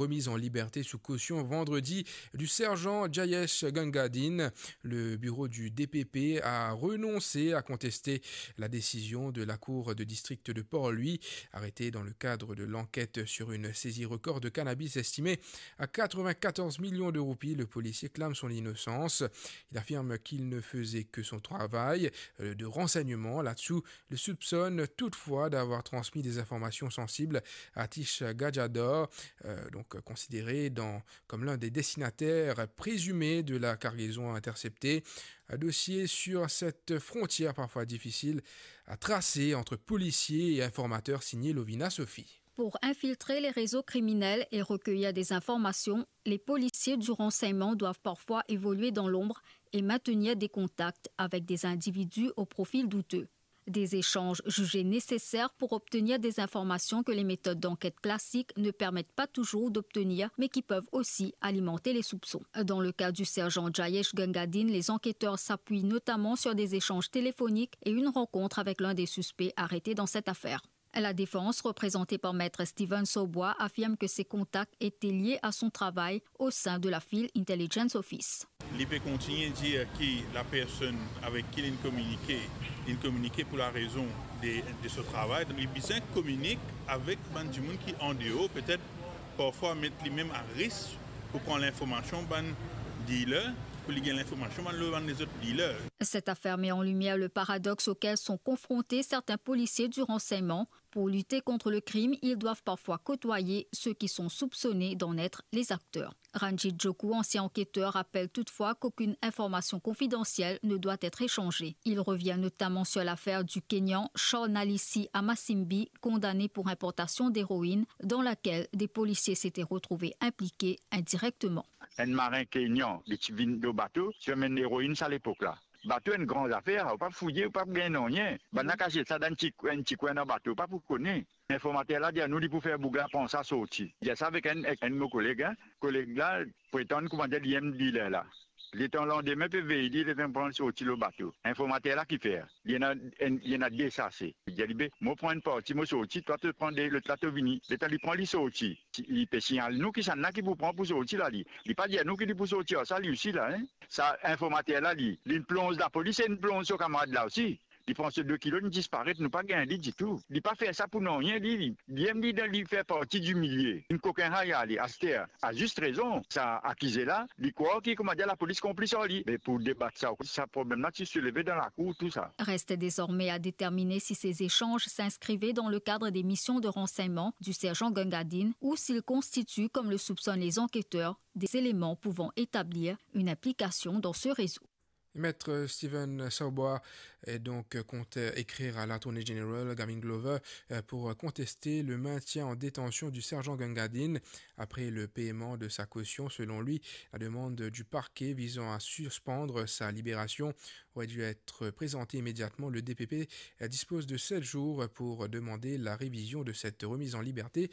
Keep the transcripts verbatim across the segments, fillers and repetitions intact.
remise en liberté sous caution vendredi du sergent Jayesh Gangadine. Le bureau du D P P a renoncé à contester la décision de la cour de district de Port-Louis. Arrêté dans le cadre de l'enquête sur une saisie record de cannabis estimée à quatre-vingt-quatorze millions de roupies, le policier clame son innocence. Il affirme qu'il ne faisait que son travail, euh, de renseignement. Là-dessous, le soupçonne toutefois d'avoir transmis des informations sensibles à Atish Gajadhar, euh, donc considéré dans, comme l'un des destinataires présumés de la cargaison interceptée. Un dossier sur cette frontière parfois difficile à tracer entre policiers et informateurs, signé Lovina Sophie. Pour infiltrer les réseaux criminels et recueillir des informations, les policiers du renseignement doivent parfois évoluer dans l'ombre et maintenir des contacts avec des individus au profil douteux. Des échanges jugés nécessaires pour obtenir des informations que les méthodes d'enquête classiques ne permettent pas toujours d'obtenir, mais qui peuvent aussi alimenter les soupçons. Dans le cas du sergent Jayesh Gangadine, les enquêteurs s'appuient notamment sur des échanges téléphoniques et une rencontre avec l'un des suspects arrêtés dans cette affaire. La défense, représentée par Maître Steven Sobois, affirme que ces contacts étaient liés à son travail au sein de la Field Intelligence Office. Li pe kontigne dir ki la personn avek ki linn kominike, linn kominike pou larezon de, de so travay. Donk, li bizin kominik avek bann dimoun ki andeor, petet parfwa met limem a risk pou pran linformasion bann dealer, pou li gagn linformasion bann lor bann lezot dealer. Cette affaire met en lumière le paradoxe auquel sont confrontés certains policiers du renseignement. Pour lutter contre le crime, ils doivent parfois côtoyer ceux qui sont soupçonnés d'en être les acteurs. Ranjit Joku, ancien enquêteur, rappelle toutefois qu'aucune information confidentielle ne doit être échangée. Il revient notamment sur l'affaire du Kenyan Charnalisi Amasimbi, condamné pour importation d'héroïne, dans laquelle des policiers s'étaient retrouvés impliqués indirectement. Enn marin Kenyan, li ti vinn lor bato, ti amenn eroinn sa lepok la. Bato enn gran zafer, ou pa fouye, ou pa gagn nanye. Bann la kasiet sa dan enn ti, enn ti kwin dan bato, ou pa pou kone. Informater la dir nou li pou fer boug la pran sa sorti. Dir sa avek enn, enn mo koleg, hein. Koleg la pretann kouma dir li enn dealer la. Letan landime pe vey li, letan pran sorti lor bato. Informater la ki fer? Li ena enn, li ena de sase. Li dir li, be, mo pran enn parti, mo sorti, twa to pran de, lot la to vini. Letan li pran, li sorti. Li pe signal nou ki sannla ki pou pran pou sorti la li. Li pa dir nou ki li pou sorti ar sa li osi la, hein. Sa informater la li, linn plonz lapolis e linn plonz so kamarad la osi. Li pran so de kilo, linn disparet, nou pa gagn li ditou. Li pa fer sa pou nanye, li, li, li, li, li fer parti di milie. Enn kokin rayal li, aster, a zis rezon, sa akize la, li krwar ki, kouma dir, lapolis konplis ar li. Me pou debat sa, sa problem la ti souleve dan lakour, tou sa. Reste désormais à déterminer si ces échanges s'inscrivaient dans le cadre des missions de renseignement du sergent Gangadine ou s'ils constituent, comme le soupçonnent les enquêteurs, des éléments pouvant établir une implication dans ce réseau. Maître Steven Saubwa est donc compte écrire à l'Attorney General Gavin Glover, euh, pour contester le maintien en détention du sergent Gangadine après le paiement de sa caution. Selon lui, la demande du parquet visant à suspendre sa libération aurait dû être présentée immédiatement. Le D P P dispose de sept jours pour demander la révision de cette remise en liberté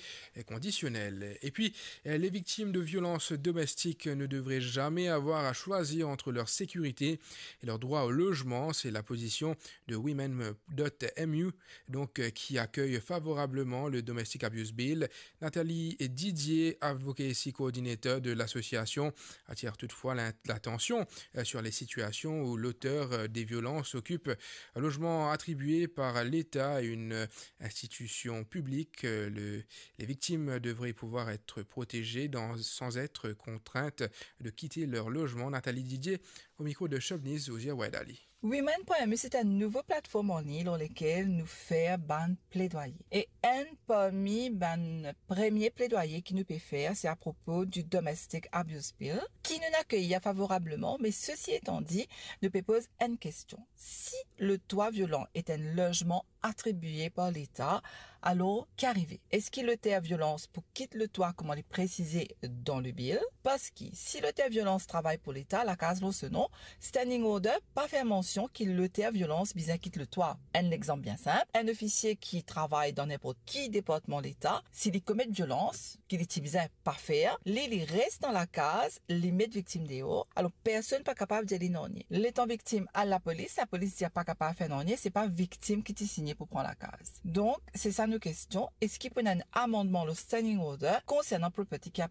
conditionnelle. Et puis, les victimes de violences domestiques ne devraient jamais avoir à choisir entre leur sécurité et leur droit au logement. C'est la position de women dot M U, donc, euh, qui accueille favorablement le Domestic Abuse Bill. Nathalie Didier, advocacy coordinator de l'association, attire toutefois l'in-, l'attention, euh, sur les situations où l'auteur, euh, des violences occupe un logement attribué par l'État à une, euh, institution publique. Euh, le, les victimes devraient pouvoir être protégées dans, sans être contraintes de quitter leur logement. Nathalie Didier, au micro de Shobniz Ouzia Waidali. Women point M U, se enn nouvo platform anlign lor lekel nou fer bann pledwaye. E enn parmi bann premie pledwaye ki nou pe fer, se apropo du Domestic Abuse Bill, ki nou akeyir favorableman, me sesi etan di, nou pe poz enn kestion. Si le toit violent est un logement attribué par l'État, alor, ki arive? Eski loter violans pou kit le toit, kouma li presize dan le bill? Parski, si loter violans travay pou Leta, lakaz lor so non, standing order pa fer mansion ki loter violans bizin kit le toit. Enn lexanp bien sinp, enn ofisie ki travay dan ninport ki departman Leta, si li komet violans, ki li ti bizin pa fer, li, li res dan lakaz, li met viktim deor, alor personn pa kapav dir li nanye. Letan viktim al lapolis, lapolis dir pa kapav fer nanye, se pa viktim ki ti signe pou pran lakaz. Donk, se sa nou kestion, eski pou ena enn amandman lor standing order konsernan property ki